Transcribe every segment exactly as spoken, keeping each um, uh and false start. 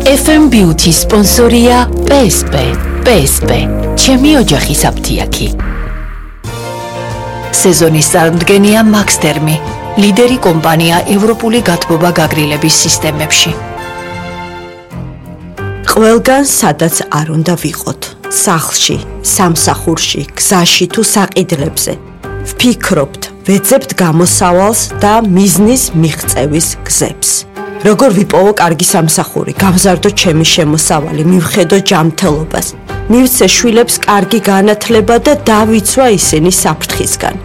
эф эм Beauty სპონსორია პი ეს პი. პი ეს პი. ჩემი ოჯახის აფთიაქი. სეზონის წარმდგენია მაქსტერმი, ლიდერი კომპანია ევროპული გათბობა გაგრილების სისტემებში. ყველგან სადაც არ უნდა ვიყოთ, სახლში, სამსახურში, გზაში თუ საყიდლებზე. ვფიქრობთ, ვეძებთ გამოსავალს და მიზნის მიღწევის გზებს. როგორ ვიპოვო კარგი სამსახური, გავზარდო ჩემი შემოსავალი, მივხედო ჯანმრთელობას, მივცე შვილებს კარგი განათლება და დავიცვა ისინი საფრთხისგან.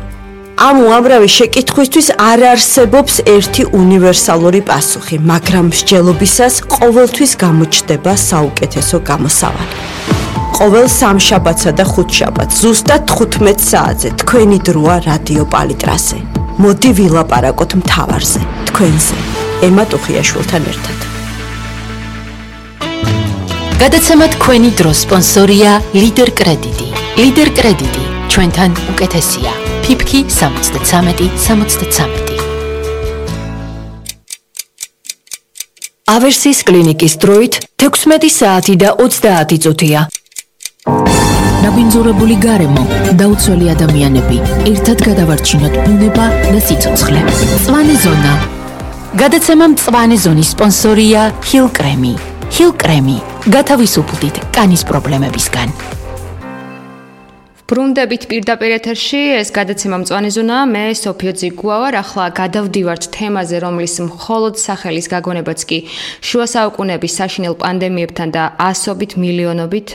ამ უამრავი შეკითხვისთვის არ არსებობს ერთი უნივერსალური პასუხი, მაგრამ მსჯელობისას ყოველთვის გამოჩნდება საუკეთესო გამოსავალი. ყოველ სამშაბათსა და ხუთშაბათს ზუსტად თხუთმეტ საათზე თქვენი დროა რადიო პალიტრაზე. მოდი ვილაპარაკოთ მთავარზე, თქვენზე. ემა ტუხიაშვილთან ერთად. გადაცემა თქვენი დროს სპონსორია ლიდერ კრედიტი. ლიდერ კრედიტი ჩვენთან უკეთესია. ფიფკი სამოცდათრამეტი სამოცდათრამეტი. ავერსის კლინიკის დროით თექვსმეტი საათი და ოცდაათი წუთია. ნაბინძურებული გარემო, დაუცველი ადამიანები, ერთად გადავარჩინოთ ბუნება და სიცოცხლე. მწვანე ზონა. გადაცემა მწვანე ზონის სპონსორია ჰილ კრემი. ჰილ კრემი. გათავისუფლდით კანის პრობლემებისგან. ბრუნდებით პირდაპირ ეთერში, ეს გადაცემა მწვანე ზონა, მე სოფიო ძიგუა ვარ, ახლა გადავდივართ თემაზე, რომლის მხოლოდ სახელის გაგონებაც კი შუა საუკუნეების საშინელ პანდემიებთან და ასობით მილიონობით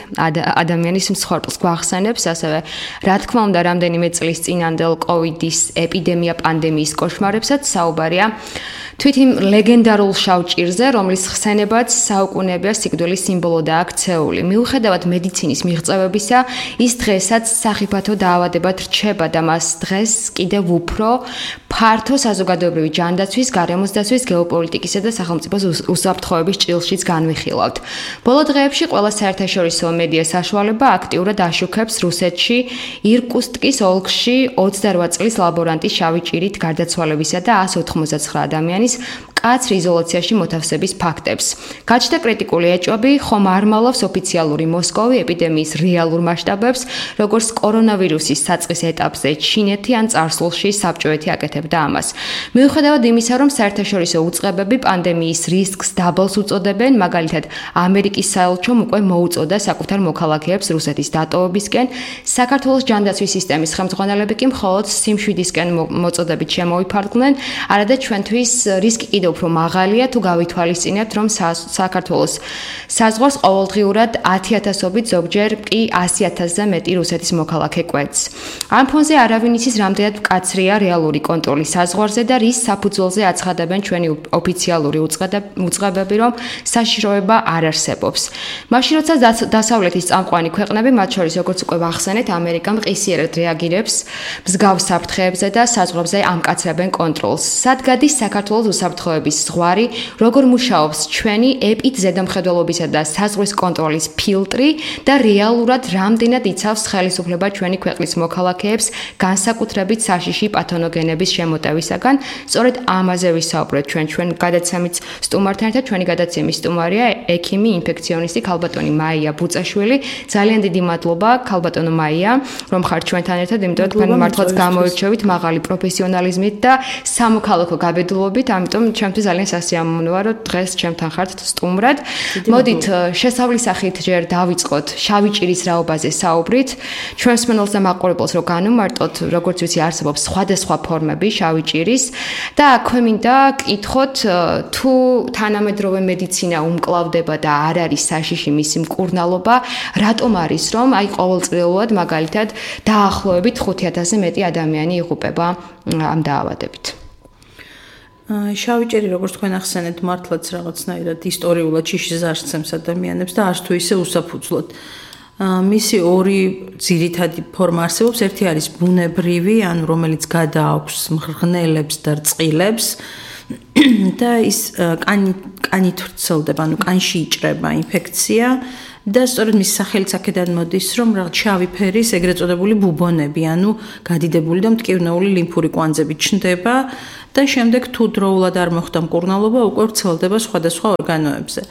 ადამიანის მსხვერპლს გვახსენებს, ასევე რა თქმა უნდა, რამდენიმე წლის წინანდელ კოვიდის ეპიდემია პანდემიის კოშმარებსაც საუბარია. თვით იმ ლეგენდარულ შავჭირზე, რომლის ხსენებაც საუკუნეებია სიკვდილის სიმბოლოდაა ქცეული. მიუხედავად მედიცინის მიღწევებისა, ის დღესაც სახიფათო დაავადებად რჩება და მას დღეს კიდევ უფრო ფართო საზოგადოებრივი ჯანდაცვის, გარემოს დაცვის, გეოპოლიტიკისა და სახელმწიფოს უსაფრთხოების ჭრილშიც განვიხილავთ. ბოლო დღეებში ყველა საერთაშორისო მედია საშუალება აქტიურად აშუქებს რუსეთში ირკუტსკის ოლქში ოცდარვა წლის ლაბორანტის შავი ჭირით გარდაცვალებისა და ასს ოთხმოცდათცხრა ადამიანის მკაცრ იზოლაციაში მოთავსების ფაქტებს. გაჩნდა კრიტიკული ეჭვები, ხომ არ მალავს ოფიციალური მოსკოვი ეპიდემიის რეალურ მასშტაბებს, როგორც კორონავირუსის საწყის ეტაპზე ჩინეთი ან წარსულში საბჭოეთი აკეთებდა ამას. მიუხედავად იმისა, რომ საერთაშორისო უწყებები პანდემიის რისკს დაბალს უწოდებენ, მაგალითად, ამერიკის საელჩომ უკვე მოუწოდა საკუთარ მოქალაქეებს რუსეთის დატოვებისკენ, საქართველოს ჯანდაცვის სისტემის ხელმძღვანელები კი მხოლოდ სიმშვიდისკენ მოწოდებით შემოიფარგლნენ, არადა ჩვენთვის რისკი კიდევ უფრო მაღალია თუ გავითვალისწინებთ, რომ საქართველოს საზღვარს ყოველდღიურად ათი ათასობით, ზოგჯერ კი ასი ათასზე მეტი რუსეთის მოქალაქე კვეთს. ამ ფონზე არავინ იცის, რამდენად მკაცრია რეალური კონტროლი საზღვარზე და რის საფუძველზე აცხადებენ ჩვენი ოფიციალური უწყებები, რომ საშიშროება არ არსებობს. მაშინ, როცა დასავლეთის წამყვანი ქვეყნები, მათ შორის როგორც უკვე ვახსენეთ, ამერიკა მყისიერად რეაგირებს მსგავს საფრთხეებზე და საზღვრებზე ამკაცრებენ კონტროლს. სად გადის საქართველოს უსაფრთხოების ზღვარი, როგორ მუშაობს ჩვენი ეპიდ ზედამხედველობისა და საზღვრის კონტროლის ფილტრი და რეალურად რამდენად იცავს ხელისუფლება ჩვენი ქვეყნის მოქალაქეებს განსაკუთრებით საშიში პათონოგენების შემოტევისაგან. სწორედ ამაზე ვისაუბრეთ ჩვენ ჩვენ გადაცემის სტუმართან ერთად. ჩვენი გადაცემის სტუმარია ექიმი, ინფექციონისტი ქალბატონი მაია ბუწაშვილი. ძალიან დიდი მადლობა ქალბატონო მაია, რომ ხართ ჩვენთან ერთად, იმიტომ რომ თქვენ მართლაც გამოირჩევით მაღალი პროფესიონალიზმით და სამოქალაქო გაბედულობით, ამიტომ ჩემთვის ძალიან სასიამოვნოა, რომ დღეს ჩემთან ხართ სტუმრად. მოდით შესავლის სახით ჯერ დავიწყოთ შავი ჭირის რაობაზე საუბრით. ჩვენს მსმენელს და მაყურებელს რო განვმარტოთ, როგორც ვიცი, არსებობს სხვადასხვა ფორმები შავი ჭირის და აქვე მინდა კითხოთ, თუ თანამედროვე მედიცინა უმკლავდება და არ არის საშიში მისი მკურნალობა, რატომ არის, რომ აი ყოველწლიურად მაგალითად დაახლოებით ხუთი ათასზე მეტი ადამიანი იღუპება ამ დაავადებით? შავი ჭირი, როგორც თქვენ ახსენეთ, მართლაც რაღაცნაირად ისტორიულად შიშის არსცემს ადამიანებს და არც თუ ისე უსაფუძვლოდ. მისი ორი ძირითადი ფორმა არსებობს, ერთი არის ბუნებრივი, ანუ რომელიც გადააქვს მღრღნელებს და რწყილებს და ის კანი კანით ვრცელდება, ანუ კანში იჭრება ინფექცია და სწორედ მის სახელიც აქედან მოდის, რომ რაღაც შავი ფერის ეგრეთ წოდებული ბუბონები, ანუ გადიდებული და მტკივნეული ლიმფური კვანძები ჩნდება და შემდეგ თუ დროულად არ მოხდა მკურნალობა, უკვე ვრცელდება სხვადასხვა ორგანოებზე.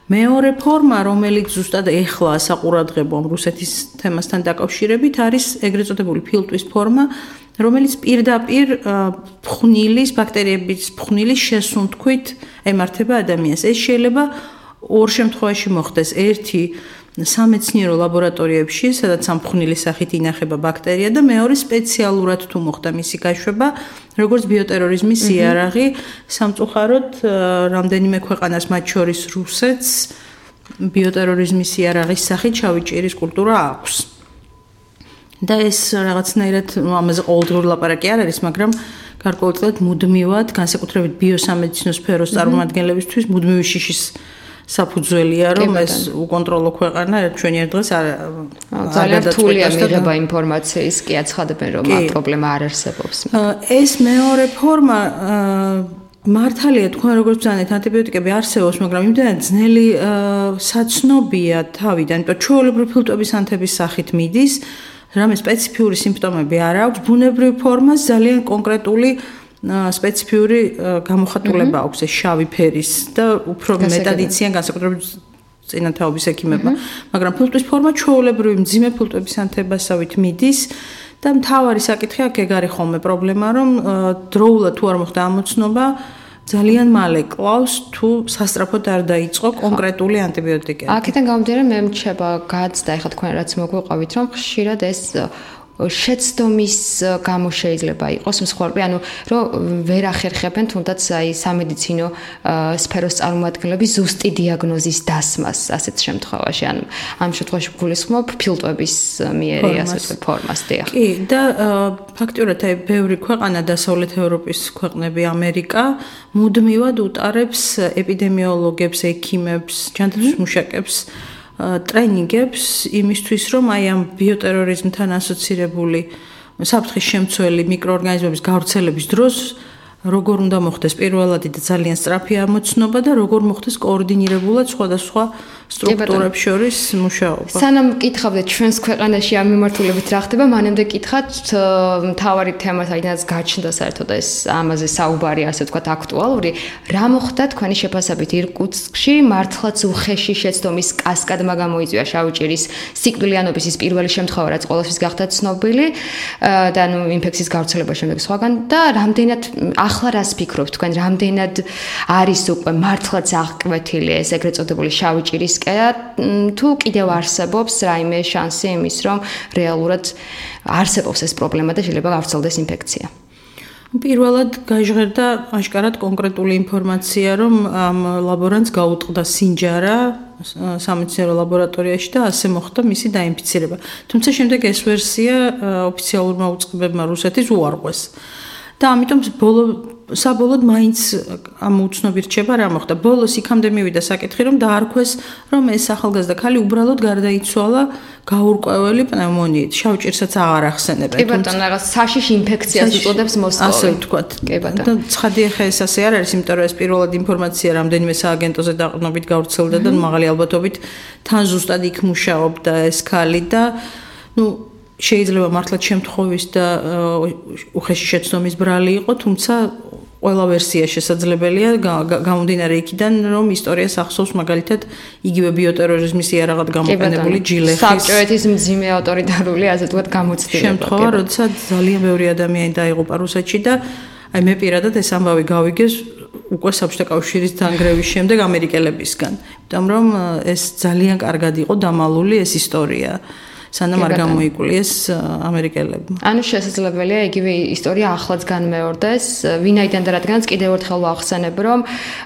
მეორე ფორმა, რომელიც ზუსტად ეხლა საყურადღებო ამ რუსეთის თემასთან დაკავშირებით, არის ეგრეთ წოდებული ფილტვის ფორმა, რომელიც პირდაპირ ფხვნილის, ბაქტერიების ფხვნილის შესუნთქვით ემართება ადამიანს. ეს შეიძლება ორ შემთხვევაში მოხდეს. ერთი სამეცნიერო ლაბორატორიებში, სადაც ამ ფხვნილის სახით ინახება ბაქტერია და მეორე სპეციალურად თუ მოხდა მისი გაშვება, როგორც ბიოტერორიზმის იარაღი, სამწუხაროდ რამდენიმე ქვეყანას, მათ შორის რუსეთს, ბიოტერორიზმის იარაღის სახით შავი ჭირის კულტურა აქვს. და ეს რაღაცნაირად ამაზე ყოველდღიური ლაპარაკი არ არის, მაგრამ გარკვეულწილად მუდმივად, განსაკუთრებით ბიოსამედიცინო სფეროს წარმომადგენლებისთვის მუდმივი შიშის საფუძველია, რომ ეს უკონტროლო ქვეყანა ჩვენი ერთ დღეს არ ძალიან რთულია მიღება ინფორმაციის, კი აცხადებენ, რომ ამ პრობლემა არ არსებობს. ეს მეორე ფორმა მართალია, თქვენ როგორც ბრძანეთ, ანტიბიოტიკები არსებობს, მაგრამ იმდენად ძნელი საცნობია თავიდან, იმიტომ ჩვეულებრივი ფილტვების ანთების სახით მიდის, რამე სპეციფიური სიმპტომები არ აქვს, ბუნებრივი ფორმას ძალიან კონკრეტული სპეციფიური გამოხატულება აქვს ეს შავი ფერის და უფრო მეტად იციან განსაკუთრებით წინათაობის ექიმებმა, მაგრამ ფილტვის ფორმა ჩვეულებრივი მძიმე ფილტვების ანთებასავით მიდის და მთავარი საკითხი აქ ეგ არის ხოლმე პრობლემა, რომ დროულად თუ არ მოხდა ამოცნობა ძალიან მალე კლავს თუ სასწრაფოდ არ დაიწყო კონკრეტული ანტიბიოტიკები. აქედან გამომდინარე მე მრჩება გაცდა, ეხლა თქვენ რაც მოგვიყვებით, რომ ხშირად ეს შეცდომის გამო შეიძლება იყოს მსხვერპლი, ანუ რომ ვერ ახერხებენ თუნდაც აი სამედიცინო სფეროს წარმომადგენლები ზუსტი დიაგნოზის დასმას ასეთ შემთხვევაში, ანუ ამ შემთხვევაში გულისხმობ ფილტვების მიერი ასეთ ფორმას დიახ. კი, და ფაქტიურად აი ბევრი ქვეყანა დასავლეთ ევროპის ქვეყნები, ამერიკა მუდმივად უტარებს ეპიდემიოლოგებს, ექიმებს, ჯანდაცვის მუშაკებს ტრენინგებს იმისთვის, რომ აი ამ ბიოტერორიზმთან ასოცირებული საფრთხის შემცველი მიკროორგანიზმების გავრცელების დროს როგორ უნდა მოხდეს პირველადი და ძალიან სწრაფი ამოცნობა და როგორ მოხდეს კოორდინირებულად სხვადასხვა სტრუქტურებს შორის მუშაობა. სანამ კითხავდეთ ჩვენს ქვეყანაში ამ მიმართულებით რა ხდება, მანამდე კითხავთ მთავარი თემა, საიდანაც გაჩნდა საერთოდ ეს ამაზე საუბარი, ასე ვთქვათ, აქტუალური. რა მოხდა თქვენი შეფასებით ირკუტსკში? მართლაც უხეში შეცდომის კასკადმა გამოიწვია შავი ჭირის სიკვდილიანობის ის პირველი შემთხვევა, რაც ყოველთვის გახდა ცნობილი და ნუ ინფექციის გავრცელების შემდეგ სხვაგან და რამდენად ახლა რას ფიქრობთ თქვენ, რამდენად არის უკვე მართლაც აღკვეთილი ეს ეგრეთ წოდებული შავი ჭირის თუ კიდევ არსებობს რაიმე შანსი იმის, რომ რეალურად არსებობს ეს პრობლემა და შეიძლება გავრცელდეს ინფექცია? პირველად გაჟღერდა აშკარად კონკრეტული ინფორმაცია, რომ ამ ლაბორანტს გაუტყდა სინჯარა სამედიცინო ლაბორატორიაში და ასე მოხდა მისი დაინფიცირება. თუმცა შემდეგ ეს ვერსია ოფიციალურმა უწყებებმა რუსეთის უარყვეს. და ამიტომ ბოლო საბოლოოდ მაინც ამ უცნობი რჩება რა მოხდა. ბოლოს იქამდე მივიდა საკითხი, რომ დაარქვეს, რომ ეს ახალგაზრდა ქალი უბრალოდ გარდაიცვალა გაურკვეველი პნევმონიით. შავ ჭირსაც აღარ ახსენებენ. კი ბატონო, რაღაც საშიში ინფექციას უწოდებს მოსკოვი. ასე ვთქვათ. კი ბატონო. და ცხადი ახლა ეს ასე არ არის, იმიტომ რომ ეს პირველად ინფორმაცია რამდენიმე სააგენტოზე დაყრდნობით გავრცელდა და მაღალი ალბათობით თან ზუსტად იქ მუშაობდა ეს ქალი და ნუ შეიძლება მართლაც შემთხვევის და უხეში შეცდომის ბრალი იყო, თუმცა ყველა ვერსია შესაძლებელია გამომდინარე იქიდან, რომ ისტორიას ახსოვს მაგალითად იგივე ბიოტერორიზმის იარაღად გამოყენებული ჯილეხის საბჭოეთის მძიმე ავტორიტარული ასე ვთქვათ გამოცდილება. შემთხვევა, როდესაც ძალიან ბევრი ადამიანი დაიღუპა რუსეთში და აი მე პირადად ეს ამბავი გავიგე უკვე საბჭოთა კავშირის დანგრევის შემდეგ ამერიკელებისგან. იმიტომ რომ ეს ძალიან კარგად იყო დამალული ეს ისტორია. სანამ არ გამოიკულიეს ამერიკელებმა. ანუ შესაძლებელია იგივე ისტორია ახლაც განმეორდეს, ვინაიდან და რადგანაც კიდევ ერთხელ ვახსენებ, რომ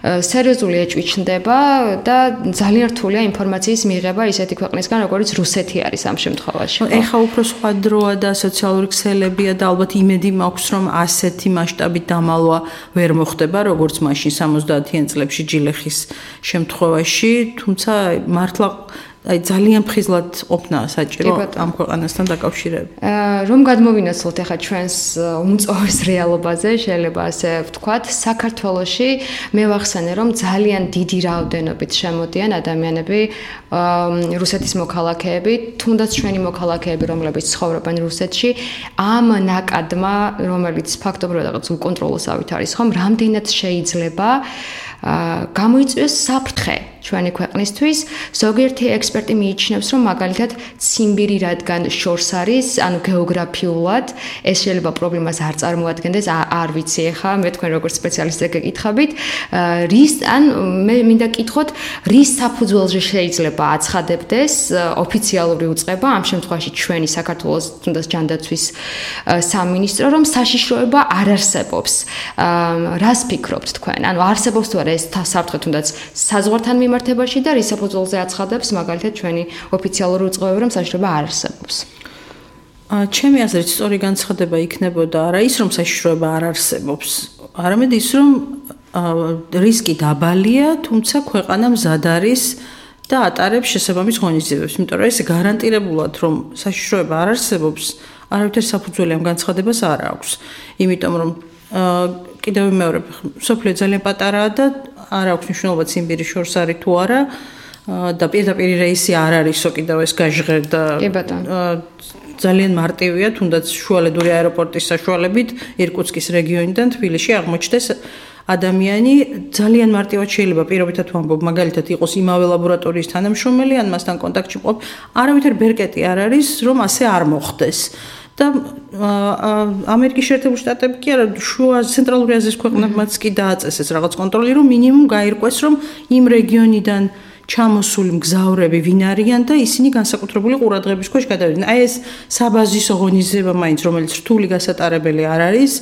სერიოზული ეჭვი ჩნდება და ძალიან რთულია ინფორმაციის მიღება ისეთი ქვეყნისგან, როგორც რუსეთი არის ამ შემთხვევაში. ეხა უფრო სხვა დროა და სოციალური ქსელებია და ალბათ იმედი მაქვს, რომ ასეთი მასშტაბით დამალვა ვერ მოხდება, როგორც მაშინ სამოცდაათიან წლებში ჯილეხის შემთხვევაში, თუმცა მართლა აი ძალიან ფხიზლად ყოფნა საჭირო ამ ქვეყანასთან დაკავშირებით. რომ გადმოვინაცვლოთ ახლა ჩვენს უმწოვეს რეალობაზე, შეიძლება ასე ვთქვათ, საქართველოში მე ვახსენე, რომ ძალიან დიდი რაოდენობით შემოდიან ადამიანები, რუსეთის მოქალაქეები, თუნდაც ჩვენი მოქალაქეები, რომლებიც ცხოვრობენ რუსეთში, ამ ნაკადმა, რომელიც ფაქტობრივად რაღაც უკონტროლოსავით არის, ხომ, რამდენად შეიძლება გამოიწვიოს საფრთხე ჩვენი ქვეყნისთვის. ზოგიერთი ექსპერტი მიიჩნევს, რომ მაგალითად ციმბირი რადგან შორს არის, ანუ გეოგრაფიულად ეს შეიძლება პრობლემას არ წარმოადგენდეს, არ ვიცი ახლა, მე თქვენ როგორც სპეციალისტი გეკითხებით, რის ან მე მინდა კითხოთ, რის საფუძველზე შეიძლება აცხადებდეს ოფიციალური უწყება, ამ შემთხვევაში ჩვენი საქართველოს თუნდაც ჯანდაცვის სამინისტრო, რომ საშიშროება არ არსებობს. რას ფიქრობთ თქვენ? ანუ არსებობს თუ არა ეს საფრთხე თუნდაც საზღვართან მიმართებაში და რის საფუძველზე აცხადებს მაგალითად ჩვენი ოფიციალური უწყებები, რომ საშიშროება არ არსებობს? ჩემი აზრით სწორი განცხადება იქნებოდა არა ის, რომ საშიშროება არ არსებობს, არამედ ის, რომ რისკი დაბალია, თუმცა ქვეყანა მზად არის და ატარებს შესაბამის ღონისძიებებს. იმიტომ რომ ეს გარანტირებულად, რომ საშიშროება არ არსებობს, არავითარ საფუძველი ამ განცხადებას არ აქვს. იმიტომ რომ კიდევ მეორე, სოფლიო ძალიან პატარაა და არ აქვს მნიშვნელობა ციმბირი შორს არის თუ არა და პირდაპირ რეისი არ არისო კიდევ ეს გაჟღერდა. ძალიან მარტივია, თუნდაც შუალედური აეროპორტის საშუალებით ირკუტსკის რეგიონიდან თბილისში აღმოჩნდეს ადამიანი. ძალიან მარტივად შეიძლება პირობითად ვამბობ, მაგალითად იყოს იმავე ლაბორატორიის თანამშრომელი, ან მასთან კონტაქტში მყოფ, არავითარ ბერკეტი არ არის, რომ ასე არ მოხდეს. და ამერიკის შეერთებული შტატები კი არა, შუა ცენტრალური აზიის ქვეყნებმაც კი დააწესეს რაღაც კონტროლი, რომ მინიმუმ გაირკვეს, რომ იმ რეგიონიდან ჩამოსული მგზავრები ვინ არიან და ისინი განსაკუთრებული ყურადღების ქვეშ გადავიდნენ. აი ეს საბაზისო ღონისძიება მაინც, რომელიც რთული გასატარებელი არ არის,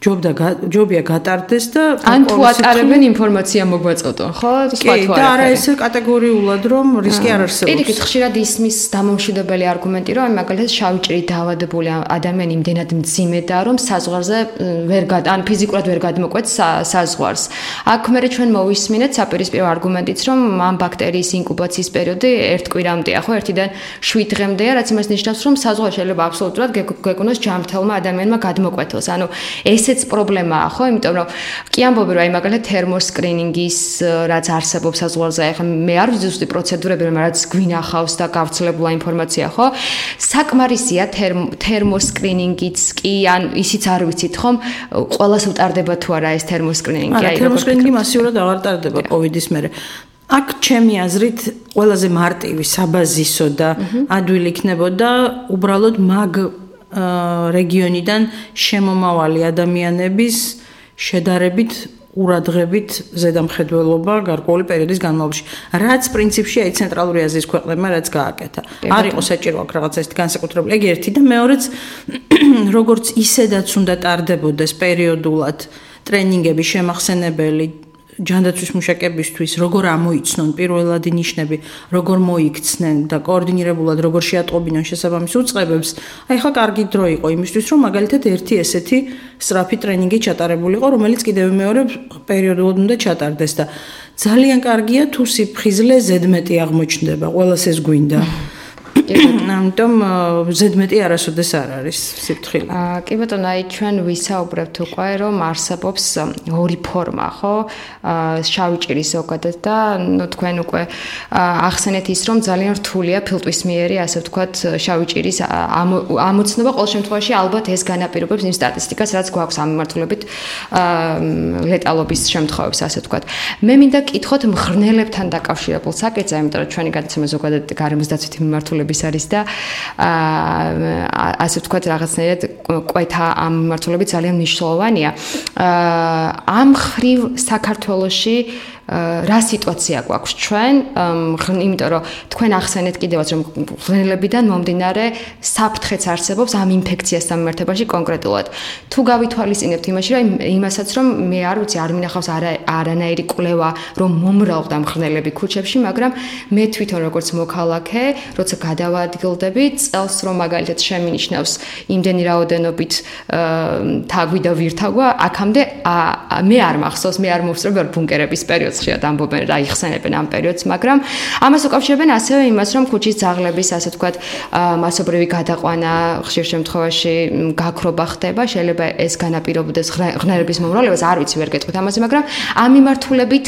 ჯობდა ჯობია გატარდეს და ან თუ ატარებენ ინფორმაცია მოგვაწოდონ, ხო? სხვა თუ არა. და არა ესე კატეგორიულად, რომ რისკი არ არსებობს. პირიქით ხშირად ისმის დამამშვიდებელი არგუმენტი, რომ აი მაგალითად შავი ჭრით დაავადებული ადამიანი იმდენად მძიმედაა, რომ საზღვარზე ვერ გად ან ფიზიკურად ვერ გადმოკვეთს საზღვარს. აქ მერე ჩვენ მოვისმინეთ საპირისპირო არგუმენტიც, რომ ამ ბაქტერიის ინკუბაციის პერიოდი ერთ კვირამდეა, ხო? ერთიდან შვიდ დღემდეა, რაც იმას ნიშნავს, რომ საზღვარში შეიძლება აბსოლუტურად გეკონოს ჯანმრთელმა ადამიანმა გადმოკვეთოს. ანუ ეს პრობლემაა, ხო? იმიტომ რომ კი ამბობენ, რომ აი მაგალითად თერმოსკრინინგის რაც არსებობს საზღვარზე, ახლა მე არ ვიცი ზუსტი პროცედურები, რაც გვინახავს და გავრცელებულა ინფორმაცია, ხო? საკმარისია თერმოსკრინინგიც კი, ან ისიც არ ვიცით, ხომ? ყველას უტარდება თუ არა ეს თერმოსკრინინგი? აი, თერმოსკრინინგი მასიურად აღარ ტარდება კოვიდის მერე. აქ ჩემი აზრით ყველაზე მარტივი საბაზისო და ადვილი იქნებოდა უბრალოდ მაგ რეგიონიდან შემომავალი ადამიანების შედარებით ურადღებით ზედამხედველობა გარკვეული პერიოდის განმავლობაში. რაც პრინციპში აი ცენტრალური აზიის ქვეყნებმა რაც გააკეთა. არ იყო საჭირო აქ რაღაცა ისეთი განსაკუთრებული. ეგ ერთი და მეორეც როგორც ისედაც უნდა ტარდებოდეს პერიოდულად ტრენინგები შემახსენებელი ჯანდაცვის მუშაკებისთვის, როგორ ამოიცნონ პირველადი ნიშნები, როგორ მოიქცნენ და კოორდინირებულად როგორ შეატყობინონ შესაბამის უწყებებს. აი ხა კარგი დრო იყო იმისთვის, რომ მაგალითად ერთი ესეთი სწრაფი ტრენინგი ჩატარებულიყო, რომელიც კიდევ მეორე პერიოდულად უნდა ჩატარდეს და ძალიან კარგია თუ სიფხიზლე ზედმეტი აღმოჩნდება, ყველას ეს გვინდა. ამიტომ ზედმეტი არასოდეს არ არის სიფრთხილე. აა კი ბატონო, აი ჩვენ ვისაუბრებთ უკვე, რომ არსებობს ორი ფორმა, ხო? აა შავი ჭირის ზოგადად და ნუ თქვენ უკვე ახსენეთ ის, რომ ძალიან რთულია ფილტვისმიერი, ასე ვთქვათ, შავი ჭირის ამოცნობა. ყოველ შემთხვევაში ალბათ ეს განაპირობებს იმ სტატისტიკას, რაც გვაქვს ამ მიმართულებით აა ლეტალობის შემთხვევებს, ასე ვთქვათ. მე მინდა კითხოთ მღრღნელებთან დაკავშირებულ საკითხზე, იმიტომ რომ ჩვენი გადაცემა ზოგადად გარემოსდაცვითი მიმართულებით არის და ასე ვთქვათ რაღაცნაირად კვეთა ამ მიმართულებით ძალიან მნიშვნელოვანია. ამ ხრივ საქართველოში რა სიტუაცია გვაქვს ჩვენ, იმიტომ რომ თქვენ ახსენეთ კიდევაც რომ მღრღნელებიდან მომდინარე საფრთხეც არსებობს ამ ინფექციასთან მიმართებაში კონკრეტულად. თუ გავითვალისწინებთ იმაში, რომ იმასაც რომ მე არ ვიცი, არ მინახავს არანაირი კვლევა, რომ მომრავლდა მღრღნელები ქუჩებში, მაგრამ მე თვითონ როგორც მოქალაქე, როცა გადავადგილდები, წელს რომ მაგალითად შემინიშნავს იმდენი რაოდენობით თაგვი და ვირთაგვა, აქამდე მე არ მახსოვს, მე არ მოვსწრები ვარ ბუნკერების პერიოდს. ხშირად ამბობენ რა იხსენებენ ამ პერიოდს, მაგრამ ამას უკავშირებენ ასევე იმას, რომ ქუჩის ძაღლების, ასე ვთქვათ, მასობრივი გადაყვანა ხშირ შემთხვევაში გაქრობა ხდება, შეიძლება ეს განაპირობდეს ღრღნელების მომრავლებას, არ ვიცი, ვერ გეტყვით ამაზე, მაგრამ ამ მიმართულებით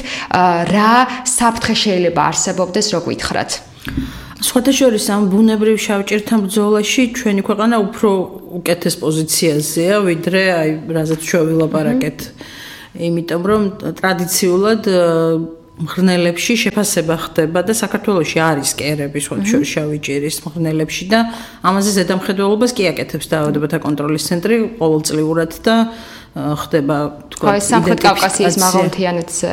რა საფრთხე შეიძლება არსებობდეს, რო გითხრათ? სხვათა შორის ამ ბუნებრივ შავჭირთან ბრძოლაში ჩვენი ქვეყანა უფრო უკეთეს პოზიციაზეა, ვიდრე აი რაზეც ჩვენ ვილაპარაკეთ. იმიტომ რომ ტრადიციულად მღრღნელებში შეფასება ხდება და საქართველოში არის კერები სხვადასხვა შავი ჭირის მღრღნელებში და ამაზე ზედამხედველობას კი აკეთებს დაავადებათა კონტროლის ცენტრი ყოველწლიურად და ხდება თქვა სამხრეთ კავკასიის მაღალმთიანეთზე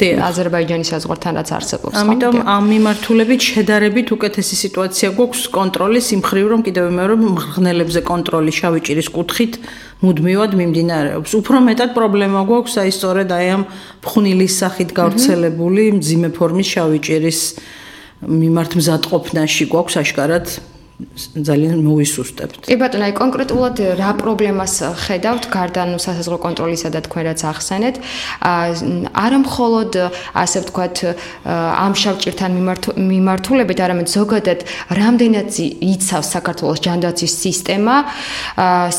აზერბაიჯანის საზღვართან რაც არსებობს. ამიტომ ამ მიმართულებით შედარებით უკეთესი სიტუაცია გვაქვს კონტროლის იმ მხრივ რომ კიდევ მეორე მღრღნელებზე კონტროლი შავი ჭირის კუთხით მუდმივად მიმდინარეობს. უფრო მეტად პრობლემა გვაქვს აი სწორედ აი ამ ფხვნილის სახით გავრცელებული მძიმე ფორმის შავი ჭირის მიმართ მზადყოფნაში გვაქვს აშკარად ძალიან მოვისუსტებთ. კი ბატონო, აი კონკრეტულად რა პრობლემას ხედავთ გარდა ნუ სასაზღვრო კონტროლისა და თქვენ რაც ახსენეთ? არა მხოლოდ ასე ვთქვათ ამ შავჭირთან მიმართულებით, არამედ ზოგადად რამდენად იცავს საქართველოს ჯანდაცვის სისტემა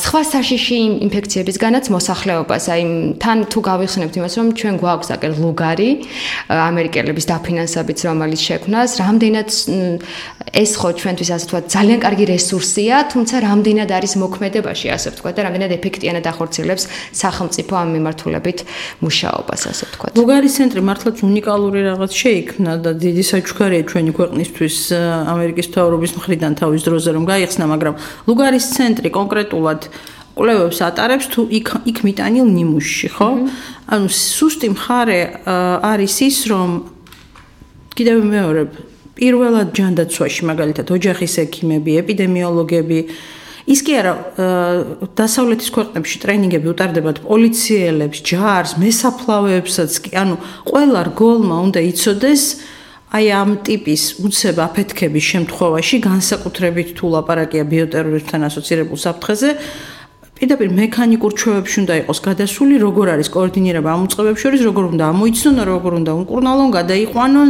სხვა საშიში ინფექციებისგანაც მოსახლეობას. აი თან თუ გავიხსენებთ იმას, რომ ჩვენ გვაქვს აკერ ლუგარი ამერიკელების დაფინანსებით რომელიც შექმნას, რამდენად ეს ხო ჩვენთვის ასე ვთქვათ ძალიან ძალიან კარგი რესურსია, თუმცა რამდენად არის მოქმედებაში, ასე ვთქვათ, და რამდენად ეფექტიანად ახორციელებს სახელმწიფო ამ მიმართულებით მუშაობას, ასე ვთქვათ. ლუგარის ცენტრი მართლაც უნიკალური რაღაც შეიქმნა და დიდი საჩუქარია ჩვენი ქვეყნისთვის ამერიკის მთავრობის მხრიდან თავის დროზე რომ გაიხსნა, მაგრამ ლუგარის ცენტრი კონკრეტულად კვლევებს ატარებს თუ იქ იქ მიტანილ ნიმუშში, ხო? ანუ სუსტი მხარე არის ის, რომ კიდევ მეორე პირველად ჯანდაცვაში მაგალითად ოჯახის ექიმები, ეპიდემიოლოგები ის კი არა დასავლეთის ქვეყნებში ტრენინგები უტარდებათ პოლიციელებს, ჯარს, მესაფლავეებსაც კი, ანუ ყველა რგოლმა უნდა იცოდეს აი ამ ტიპის უცებ აფეთქების შემთხვევაში განსაკუთრებით თუ ლაპარაკია ბიოტერორიზმთან ასოცირებულ საფრთხეზე პირდაპირ მექანიკურ ჩვევებში უნდა იყოს გადასული, როგორ არის კოორდინირება ამ უწყებებს შორის, როგორ უნდა ამოიცნონ, როგორ უნდა უმკურნალონ, გადაიყვანონ,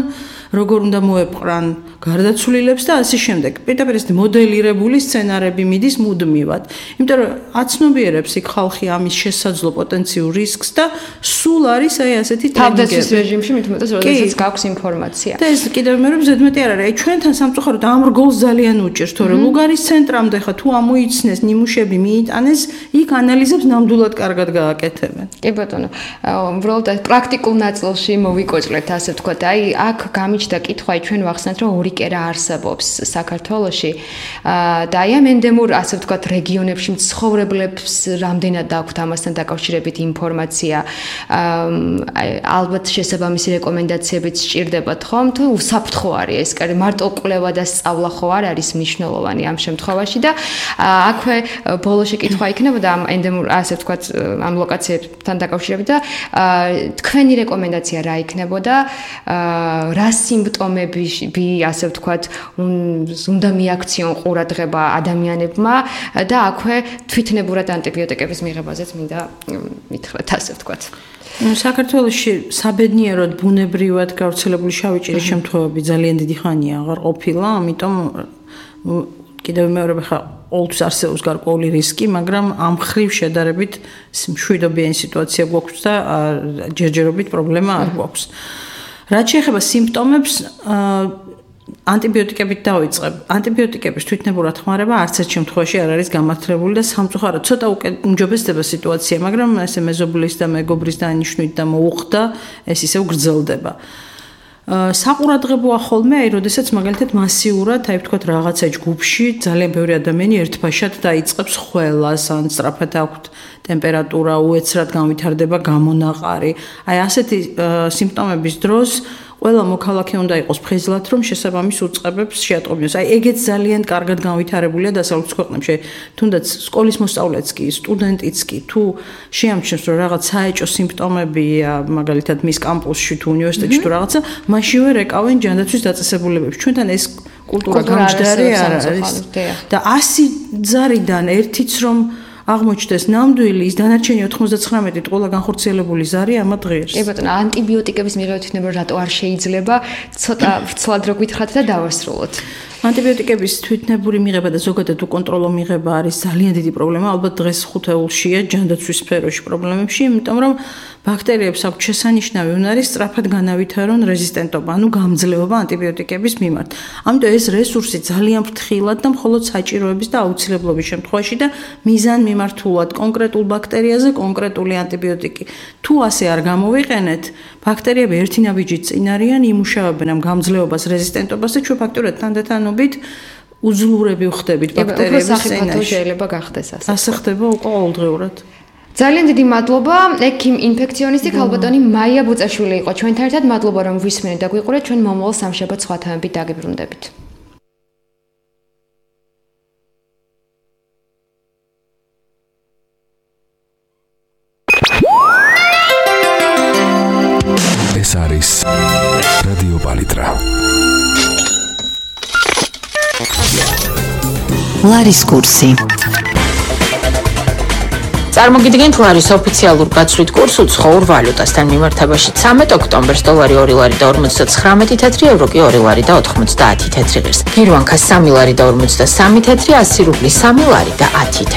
როგორ უნდა მოეპყრან გარდაცვლილებს და ასე შემდეგ. პირდაპირ ეს მოდელირებული სცენარები მიდის მუდმივად. იმიტომ რომ აცნობიერებს იქ ხალხი ამის შესაძლო პოტენციურ რისკს და სულ არის აი ასეთი თავდაცვის რეჟიმში მით უმეტეს როდესაც გაქვს ინფორმაცია. და ეს კიდევ მე რომ ზედმეტი არ არის. აი ჩვენთან სამწუხაროდ ამ რგოლს ძალიან უჭერს, თორე ლუგარის ცენტრამდე ხა თუ ამოიცნეს ნიმუშები მიიტანეს, იქ ანალიზებს ნამდვილად კარგად გააკეთებენ. კი ბატონო, უბრალოდ პრაქტიკულ ნაწილში მოვიკოჭლეთ, ასე ვთქვათ. აი აქ გამიჩნდა კითხვა, ჩვენ ვახსენეთ, რომ ორი კერა არსებობს საქართველოში და აი ამ ენდემურ, ასე ვთქვათ, რეგიონებში მცხოვრებლებს რამდენად აქვთ ამასთან დაკავშირებით ინფორმაცია. ალბათ შესაბამისი რეკომენდაციებიც სჭირდებათ, ხომ? თუ უსაფრთხო არის ეს კერი, მარტო კვლევა და სწავლა ხო არ არის მნიშვნელოვანი ამ შემთხვევაში და აქვე ბოლოში კითხვა იქნებოდა ამ ენდემურ, ასე ვთქვათ, ამ ლოკაციებთან დაკავშირებით და თქვენი რეკომენდაცია რა იქნებოდა? რა სიმპტომები, ასე ვთქვათ, უნდა მიაქციონ ყურადღება ადამიანებმა და აქვე თვითნებურად ანტიბიოტიკების მიღებაზეც მინდა მითხრათ, ასე ვთქვათ. საქართველოში საბედნიეროდ ბუნებრივად გავრცელებული შავი ჭირის შემთხვევები ძალიან დიდი ხანია აღარ ყოფილა, ამიტომ კიდევ მეორე ხა ყოველთვის არსებობს გარკვეული რისკი, მაგრამ ამ ხრივ შედარებით მშვიდობიანი სიტუაცია გვაქვს და ჯერჯერობით პრობლემა არ გვაქვს. რაც შეეხება სიმპტომებს, ანტიბიოტიკებით დავიწყებ. ანტიბიოტიკების თვითნებურად ხმარება არც ერთ შემთხვევაში არ არის გამართლებული და სამწუხაროდ ცოტა უმჯობესდება სიტუაცია, მაგრამ ესე მეზობლის და მეგობრის დანიშნვით და მოუხდა, ეს ისევ გრძელდება. საყურადღებოა ხოლმე, აი, როდესაც მაგალითად მასიურად, აი ვთქვათ, რაღაცა ჯგუფში ძალიან ბევრი ადამიანი ერთბაშად დაიწყებს ხველას, ან სწრაფად აქვთ ტემპერატურა, უეცრად განვითარდება გამონაყარი. აი, ასეთი სიმპტომების დროს ყველა მოქალაქე უნდა იყოს ფხიზლად, რომ შესაბამის უწყებებს შეატყობინოს. აი, ეგეც ძალიან კარგად განვითარებულია დასავლეთის ქვეყნებში. თუნდაც სკოლის მოსწავლეც კი, სტუდენტიც კი, თუ შეამჩნევს, რომ რაღაც საეჭო სიმპტომებია, მაგალითად მის კამპუსში თუ უნივერსიტეტში თუ რაღაცა, მაშინვე რეკავენ ჯანდაცვის დაწესებულებებს. ჩვენთან ეს კულტურა გამჯდარი არ არის. და ასი ზარიდან ერთიც რომ აღმოჩნდეს ნამდვილი, ის დანარჩენი ოთხმოცდათხრამეტით ყველა განხორციელებული ზარი ამა დღეს. კი ბატონო, ანტიბიოტიკების მიღება თვითნებურად რატო არ შეიძლება? ცოტა ვრცლად რო გითხრათ და დავასრულოთ. ანტიბიოტიკების თვითნებური მიღება და ზოგადად უკონტროლო მიღება არის ძალიან დიდი პრობლემა, ალბათ დღეს ხუთეულშია ჯანდაცვის სფეროში პრობლემებში, იმიტომ რომ ბაქტერიებს აქვს შესანიშნავი უნარი სწრაფად განავითარონ რეზისტენტობა, ანუ გამძლეობა ანტიბიოტიკების მიმართ. ამიტომ ეს რესურსი ძალიან ფრთხილად და მხოლოდ საჭიროების და აუცილებლობის შემთხვევაში და მიზანმიმართულად კონკრეტულ ბაქტერიაზე კონკრეტული ანტიბიოტიკი. თუ ასე არ გამოვიყენეთ, ბაქტერიები ერთი ნაბიჯით წინ არიან, იმუშავებენ ამ გამძლეობას, რეზისტენტობას და ჩვენ ფაქტურად თანდათანობით უძლურები ვხდებით ბაქტერიების წინაშე. შეიძლება გახდეს ასე. ასე ხდება უკვე ყოველდღიურად. ძალიან დიდი მადლობა, ექიმ ინფექციონისტი ქალბატონი მაია ბუწაშვილი იყო ჩვენთან ერთად. მადლობა რომ გვისმენთ და გვიყურეთ. ჩვენ მომავალ სამშაბათს სხვა თემებით დაგიბრუნდებით. ეს არის რადიო პალიტრა. ლარის კურსი. წარმოგიდგენთ ლარის ოფიციალურ გაცვლით კურსს უცხოურ ვალუტასთან მიმართებაში ცამეტ ოქტომბერს დოლარი ორი ლარი და ორმოცდათხრამეტი თეთრი, ევრო კი ორი ლარი და ოთხმოცდაათი თეთრი ღირს. გირვანქა სამი ლარი და ორმოცდასამი თეთრი, ასი რუბლი სამი ლარი და ათი თეთრი.